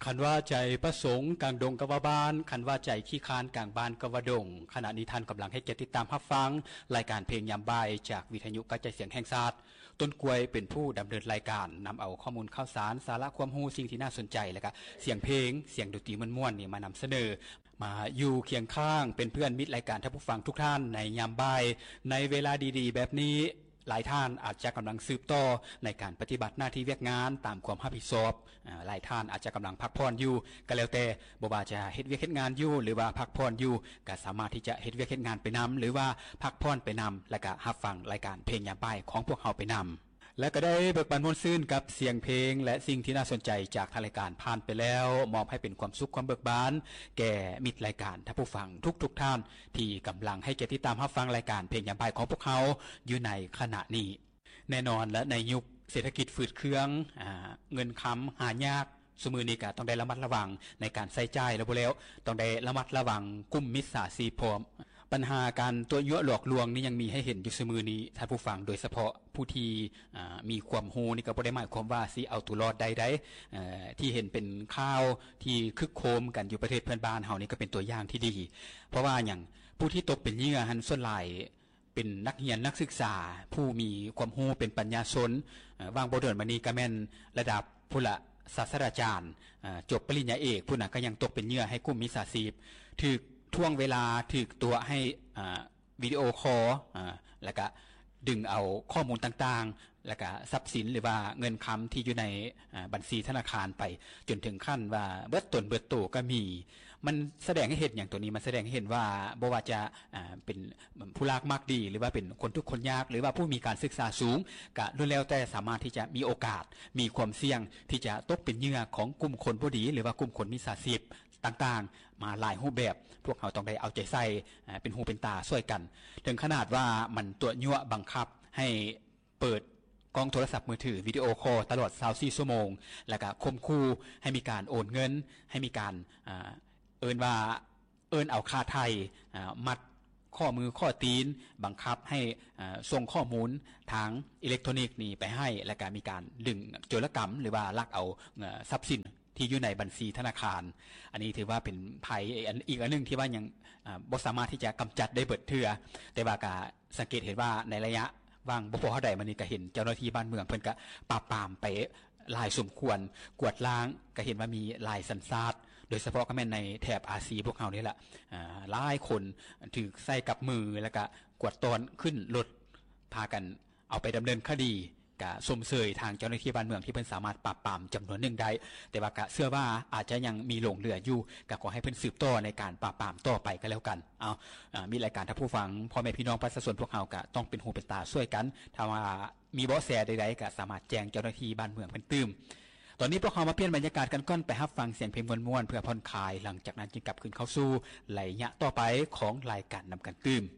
ຄັນວ່າໃຈປະສົງກາງດົງກໍວ່າບ້ານ, ຄັນວ່າໃຈຂີ້ຄ້ານກາງບ້ານກໍວ່າດົງ. ຂະນະນີ້ທ່ານກຳລັງໃຫ້ກຽດຕິດຕາມຮັບຟັງລາຍການເພງຍາມບ່າຍຈາກວິທະຍຸກະຈາຍສຽງແຫ່ງຊາດ. ຕົ້ນກ້ວຍເປັນຜູ້ດຳເນີນລາຍການ, ນຳເອົາຂໍ້ມູນຂ່າວສານ, ສາລະຄວາມຮູ້, ສິ່ງທີ່ໜ້າສົນໃຈ ແລະກະສຽງເພງ, ສຽງດົນຕີມ່ວນໆນີ້ມານຳສະເໜີ. ມາຢູ່ຄຽງຂ້າງເປັນເພື່ອນມິດລາຍການທ່ານຜູ້ຟັງທຸກທ່ານໃນຍາມບ່າຍ ໃນເວລາດີໆແບບນີ້. ຫຼາຍທ່ານອາດຈະກຳລັງສືບຕໍ່ໃນການປະຕິບັດໜ້າທີ່ວຽກງານຕາມຄວາມຮັບຜິດຊອບ. ອາ ຫຼາຍທ່ານອາດຈະກຳລັງພັກຜ່ອນຢູ່ ກໍແລ້ວແຕ່, ບໍ່ວ່າຈະເຮັດວຽກເຮັດງານຢູ່ ຫຼືວ່າພັກຜ່ອນຢູ່ ກໍສາມາດທີ່ຈະເຮັດວຽກເຮັດງານໄປນຳ ຫຼືວ່າພັກຜ່ອນໄປນຳ ແລະກະຮັບຟັງລາຍການເພງຍາມບ່າຍຂອງພວກເຮົາໄປນຳ. ແລະກໍໄດ້ເບີກບານມ່ວນຊື່ນກັບສຽງເພງ ແລະສິ່ງທີ່ໜ້າສົນໃຈຈາກທາງລາຍການຜ່ານໄປແລ້ວ, ມອບໃຫ້ເປັນຄວາມສຸກຄວາມເບີກບານແກ່ມິດລາຍການທ່ານຜູ້ຟັງທຸກໆທ່ານ ທີ່ກຳລັງໃຫ້ກຽດຕິດຕາມຮັບຟັງລາຍການເພງຍາມບ່າຍຂອງພວກເຮົາຢູ່ໃນຂະນະນີ້. ແນ່ນອນລະ ໃນຍຸກເສດຖະກິດຝືດເຄືອງ, ອາ, ເງິນຄຳຫາຍາກ, ຊຸມື້ນີ້ກໍຕ້ອງໄດ້ລະມັດລະວັງໃນການໃຊ້ຈ່າຍ ແລະບໍ່ແລ້ວ ຕ້ອງໄດ້ລະມັດລະວັງກຸ່ມມິດສາຊີບພ້ອມ. ບັນຫາການຕົວະຍົວະຫຼອກລວງນີ້ຍັງມີໃຫ້ເຫັນຢູ່ຊຸມື້ນີ້ທ່ານຜູ້ຟັງ, ໂດຍສະເພາະຜູ້ທີ່, ອາ, ມີຄວາມຮູ້ນີ້ກໍບໍ່ໄດ້ໝາຍຄວາມວ່າຊິເອົາຕົວລອດໄດ້ໃດ໋. ເອີ, ທີ່ເຫັນເປັນຂ່າວທີ່ຄຶກໂຄມກັນຢູ່ປະເທດເພື່ອນບ້ານເຮົານີ້ກໍເປັນຕົວຢ່າງທີ່ດີ. ເພາະວ່າຫຍັງ? ຜູ້ທີ່ຕົກເປັນເຫຍື່ອຫັ້ນສ່ວນຫຼາຍ ເປັນນັກຮຽນນັກສຶກສາຜູ້ມີຄວາມຮູ້ເປັນປັນຍາຊົນ, ເອີ, ຫວ່າງບໍ່ດົນມານີ້ກໍແມ່ນລະດັບພຸ້ນລະ ສາດສະດາຈານ, ເອີ, ຈົບປະລິນຍາເອກພຸ້ນນະ ກໍຍັງຕົກເປັນເຫຍື່ອໃຫ້ກຸ່ມມິດສາຊີບ, ຖືກຖ່ວງເວລາ, ຖືກຕົວະໃຫ້, ເອີ, ວິດີໂອຄໍ, ເອີ, ແລ້ວກະດຶງເອົາຂໍ້ມູນຕ່າງໆ ແລ້ວກະຊັບສິນ ຫຼືວ່າເງິນຄຳທີ່ຢູ່ໃນ, ເອີ, ບັນຊີທະນາຄານໄປ ຈົນເຖິງຂັ້ນວ່າເບິດຕົນເບິດໂຕກໍມີ. ມັນສະແດງໃຫ້ເຫັນຫຍັງໂຕນີ້? ມັນສະແດງໃຫ້ເຫັນວ່າບໍ່ວ່າຈະ, ເປັນຜູ້ລາກມາກດີ ຫຼືວ່າເປັນຄົນທຸກຄົນຍາກ ຫຼືວ່າຜູ້ມີການສຶກສາສູງ ກະລ້ວນແລ້ວແຕ່ສາມາດທີ່ຈະມີໂອກາດ, ມີຄວາມສ່ຽງທີ່ຈະຕົກເປັນເຫຍື່ອຂອງກຸ່ມຄົນບໍ່ດີ ຫຼືວ່າກຸ່ມຄົນມິດສາຊີບຕ່າງໆ ມາຫຼາຍຮູບແບບ. ພວກເຮົາຕ້ອງໄດ້ເອົາໃຈໃສ່, ເປັນຫູເປັນຕາຊ່ວຍກັນ. ເຖິງຂະໜາດວ່າມັນຕົວະຍົວະບັງຄັບໃຫ້ ເປີດກ້ອງໂທລະສັບມືຖືວິດີໂອຄໍຕະຫຼອດຊາວສີ່ຊົ່ວໂມງ ແລ້ວກະຂົ່ມຂູ່ໃຫ້ມີການໂອນເງິນ, ໃຫ້ມີການ, ເອີ້ນວ່າ, ເອີ້ນເອົາຄ່າໄຖ່, ມັດຂໍ້ມືຂໍ້ຕີນ, ບັງຄັບໃຫ້, ສົ່ງຂໍ້ມູນທາງອີເລັກໂທຣນິກນີ້ໄປໃຫ້, ແລ້ວກະມີການດຶງໂຈລະກຳ ຫຼືວ່າລັກເອົາ, ຊັບສິນ ທີ່ຢູ່ໃນບັນຊີທະນາຄານ. ອັນນີ້ຖືວ່າເປັນໄພອີກອັນໜຶ່ງທີ່ວ່າຍັງ, ອາ, ບໍ່ສາມາດທີ່ຈະກຳຈັດໄດ້ເບິດເທື່ອ, ແຕ່ວ່າກະສັງເກດເຫັນວ່າໃນໄລຍະຫວ່າງບໍ່ພໍເທົ່າໃດມານີ້ ກະເຫັນເຈົ້າໜ້າທີ່ບ້ານເມືອງເພິ່ນກະປາບປາມໄປຫຼາຍສົມຄວນ, ກວດລ້າງ, ກະເຫັນວ່າມີຫຼາຍສັນຊາດ, ໂດຍສະເພາະກໍແມ່ນໃນແຖບອາຊີພວກເຮົານີ້ແຫຼະ, ອາ, ຫຼາຍຄົນຖືກໃສ່ກັບມື ແລ້ວກະກວດຕ້ອນຂຶ້ນລົດ ພາກັນເອົາໄປດຳເນີນຄະດີ. ກະຊົມເຊີຍທາງເຈົ້າໜ້າທີ່ບ້ານເມືອງທີ່ເພິ່ນສາມາດປາບປາມຈຳນວນໜຶ່ງໄດ້, ແຕ່ວ່າກະເຊື່ອວ່າອາດຈະຍັງມີຫຼົງເຫຼືອຢູ່, ກະຂໍໃຫ້ເພິ່ນສືບຕໍ່ໃນການປາບປາມຕໍ່ໄປກໍແລ້ວກັນ. ເອົາ, ອາ, ມີລາຍການທ່ານຜູ້ຟັງ, ພໍ່ແມ່ພີ່ນ້ອງປະຊາຊົນພວກເຮົາກະຕ້ອງເປັນຫູເປັນຕາຊ່ວຍກັນ. ຖ້າວ່າມີເບາະແສໃດໆ ກະສາມາດແຈ້ງເຈົ້າໜ້າທີ່ບ້ານເມືອງເພິ່ນຕື່ມ. ຕອນນີ້ພວກເຮົາມາປ່ຽນບັນຍາກາດກັນກ່ອນ, ໄປຮັບຟັງສຽງເພງມ່ວນໆ ເພື່ອຜ່ອນຄາຍ, ຫຼັງຈາກນັ້ນຈຶ່ງກັບຄືນເຂົ້າສູ່ໄລຍະຕໍ່ໄປຂອງລາຍການນຳກັນຕື່ມ.